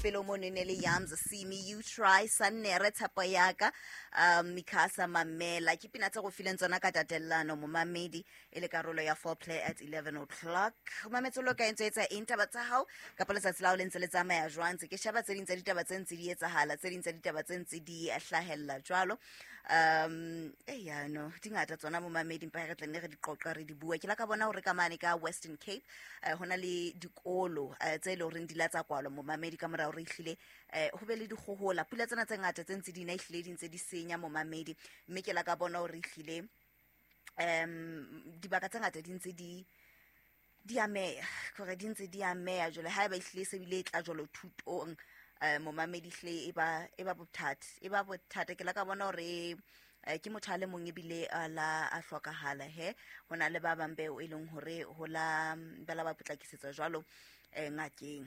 Pelo mono e ne le Yams See Me You Try Sannere tshepo yaka Mikasa Mamela ke pina tse go fileng tsona ka tatellano momamedi e le karolo ya foreplay at 11 o'clock. Mametse lo ka entse etsa eng taba tsa hao kapa letsatsi la hao le ntse le tsamaya jwang? Ntse ke sheba tse ding tsa ditaba tse ntse di etsahala, tse ding tsa ditaba tse ntse di hlahella jwalo. E yano di ngata tsona momamedi, mpa re tla nne re di qoqa re di bua. Ke la ka bona hore ka mane ka Western Cape ho na le dikolo tse leng horeng di la tsa kwalwa momamedi ka mora hore ehlile ho be le dikgohola, pula tsena tse ngata tse ntse di na ehlile di ntse di senya momamedi. Mme ke la ka bona hore ehlile dibaka tse ngata di ntse di ameha, kore di ntse di ameha jwale. Ha eba ehlile se bile e tla jwalo thutong momamedi, ehlile e ba bothata, e ba bothata. Ke la ka bona hore ke motho a le mong ebile a la a hlokahala he ho na le ba bang beo e leng hore ho la ba la ba potlakisetswa jwalo ngakeng.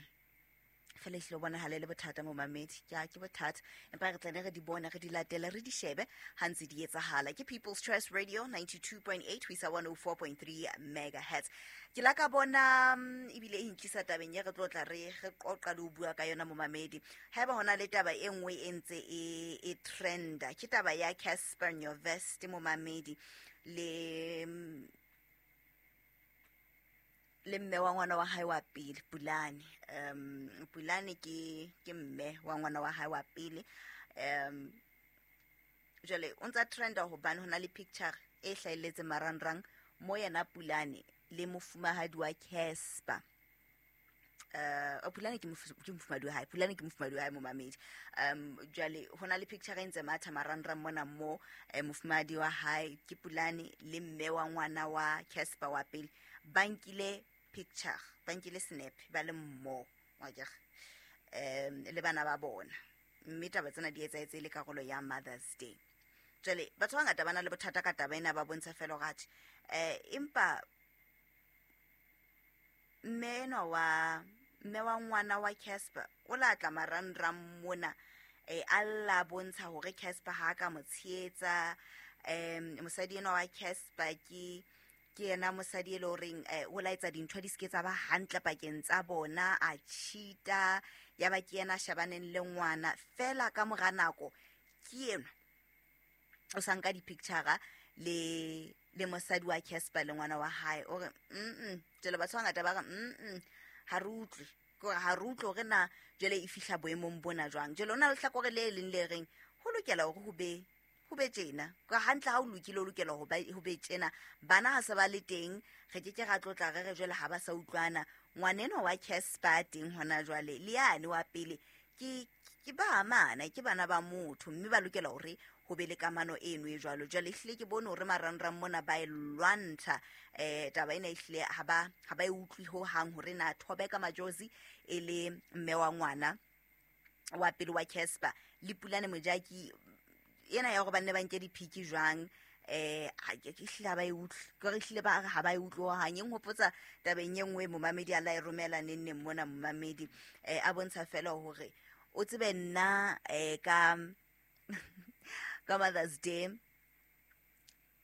Fela ehlile o bonahala e le bothata momamedi, ke bothata, empa re tlane re di bone, re di latele, re di shebe ha ntse di etsahala. Ke People's Choice Radio 92.8 ho isa 104.3 megahertz. Ke la ka bona ebile e ntlisa tabeng e re tlo tla re qoqa le ho bua ka yona momamedi. Haeba hona le taba e nngwe e ntse e trenda, ke taba ya Casper Nyovest momamedi le mme wa ngwana wa hae wa pele, Pulane. Pulane ke mme wa ngwana wa hae wa pele. Jwale o ntsa trenda hobane hona le picture e hlahelletseng marangrang mo yena Pulane le mofumahadi wa Casper. Pulane ke mofumahadi wa hae, Pulane ke mofumahadi wa hae momamedi. Jwale hona le picture e ntse matha marangrang mona mo mofumahadi wa hae ke Pulane le mme wa ngwana wa Casper wa pele ba nkile picture, ba nkile snap ba le mmoho wa kere le bana ba bona. Mme taba tsena di etsahetse e le karolo ya Mother's Day. Jwale batho ba bangata ba na le bothata ka taba ena, ba bontsha fela hore atjhe empa mme enwa wa mme wa ngwana wa Casper o la tla marangrang mona a lla bontsha hore Casper ha ka mo tshehetsa. Mosadi enwa wa Casper ke yena mosadi e le horeng o laetsa dintho di seke tsa ba hantle pakeng tsa bona, a cheata, ya ba ke yena a shebaneng le ngwana fela. Ka mora nako ke enwa o sa nka di-picture le mosadi wa Casper le ngwana wa hae, o re jwale batho ba bangata ba re ha re utlwe, kore ha re utlwe hore na jwale e fihla boemong bona jwang. Jwale ho na le hlakore le leng le reng ho lokela hore ho be tjena ka hantle, ha o lokile o lokela ho be tjena. Bana ha se ba le teng, re ke ke ra tlotla re re jwale ha ba sa utlwana. Ngwanenwa wa Casper teng hona jwale le yane wa pele ke ba amana, ke bana ba motho, mme ba lokela hore ho be le kamano eno e jwalo. Jwale ehlile ke bone hore marangrang mona ba e lwantsha taba ena, ehlile ha ba e utlwi ho hang hore na Thobeka Majozi e le mme wa ngwana wa pele wa Casper le Pulane Mojaki ena ya hore ba nne ba nke diphiki jwang. Ehlile ha ba e utlwe, kore ehlile ba re ha ba e utlwe hohang. E nhopotsa tabeng e nngwe momamedi a la e romela neng neng mona momamedi, a bontsha fela hore o tsebe nna ka Mother's Day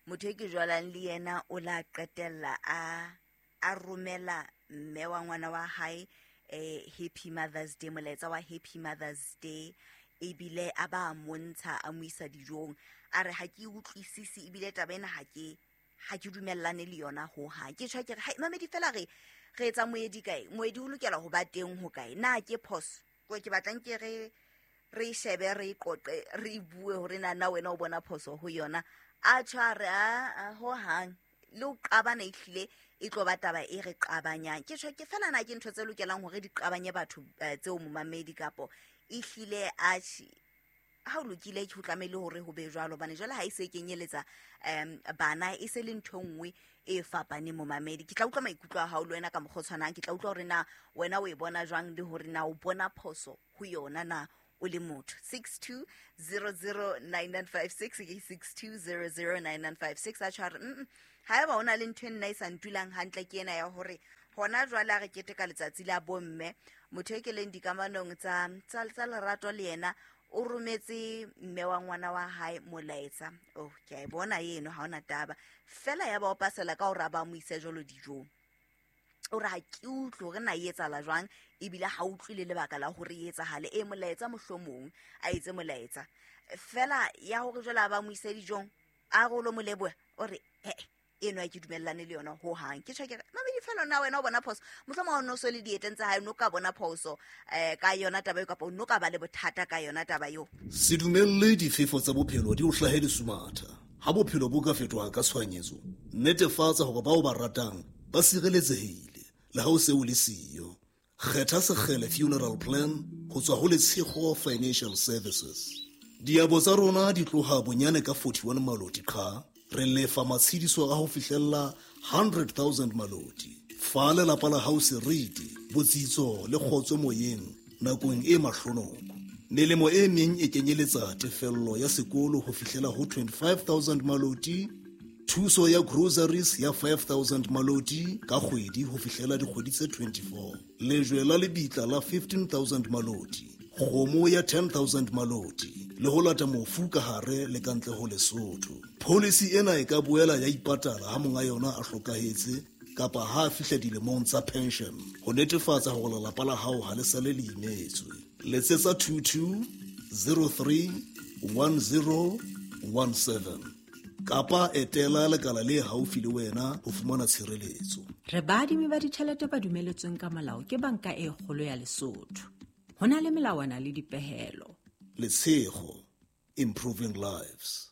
motho e ke jwalang le yena o la qetella a romela mme wa ngwana wa hae Happy Mother's Day, molaetsa wa Happy Mother's Day, ebile a ba montsha a mo isa dijong. A re ha ke utlwisisi ebile taba ena ha ke dumellane le yona ho hang. Ke tjho ke re hai mamedi fela re etsa moedi kae, moedi o lokela ho ba teng ho kae, na ke phoso? Ko ke batlang ke re shebe, re qoqe, re bue hore na wena o bona phoso ho yona. A tjho a re a ho hang le ho qabana, ehlile e tlo ba taba e re qabanyang. Ke tjho ke fela na ke ntho tse lokelang hore di qabanye batho tseo momamedi, kapo ehlile atjhe ha o lokile ke ho tlamehile hore ho be jwalo, hobane jwale ha e se e kenyeletsa bana e se le ntho e nngwe e fapaneng momamedi. Ke tla utlwa maikutlo a hao le wena ka mokgwa o tshwanang, ke tla utlwa hore na wena o e bona jwang le hore na o bona phoso ho yona na o le motho. 62009956 ke 62009956. A tshware ha eba o na le ntho e nna e sa ntulang hantle ke ena ya hore hona jwale a re keteka letsatsi la bomme, motho e ke leng dikamanong tsa lerato le yena o rometse mme wa ngwana wa hae molaetsa. Oh, ke a e bona eno, ha ona taba fela ya ba o pasela ka hore a ba mo ise jwalo dijong. O re ha ke utlwe hore na e etsahala jwang. Ebile ha utlwile lebaka la hore e etsahale. E molaetsa mohlomong a etse molaetsa fela ya hore jwale a ba mo ise dijong, a re o lo mo leboha, o re ee, eno ha ke dumellane le yona hohang. Ke tjho ke re mamedi fela, na wena o bona phoso? Mohlomong o no so le dieteng tsa hae, o no ka bona phoso ka yona taba eo, kapa o no ka ba le bothata ka yona taba eo? Se dumelle difefo tsa bophelo di o hlahe lesumatha. Ha bophelo bo ka fetoha ka tshohanyetso, netefatsa hore bao ba ratang ba sireletsehile le ha o se o le siyo. Kgetha Sekgele Funeral Plan ho tswa ho Letshego Financial Services. Diabo tsa rona di tloha bonyane ka 41 maloti qha. Re lefa matshediso a ho fihlella 100,000 maloti. Fa lelapa la hao seriti, botsitso le kgotso moyeng nakong e mahlonoko. Melemo e meng e kenyeletsa tefello ya sekolo ho fihlela ho 25,000 maloti, thuso ya groceries ya 5,000 maloti ka kgwedi ho fihlela dikgwedi tse 24, lejwe la lebitla la 15,000 maloti, kgomo ya 10,000 maloti le ho lata mofu ka hare le ka ntle ho Lesotho. Pholisi ena e ka boela ya ipatala ha monga yona a hlokahetse kapa ha a fihla dilemong tsa pension, ho netefatsa hore lelapa la hao ha le sale le imetswe. Letsetsa 22 03 10 17 kapa etela lekala le haufi le wena ho fumana tshireletso. Re baadimi ba ditjhelete ba dumeletsweng ka molao ke Banka e Kgolo ya Lesotho. Ho na le melawana le dipehelo. Letshego, improving lives.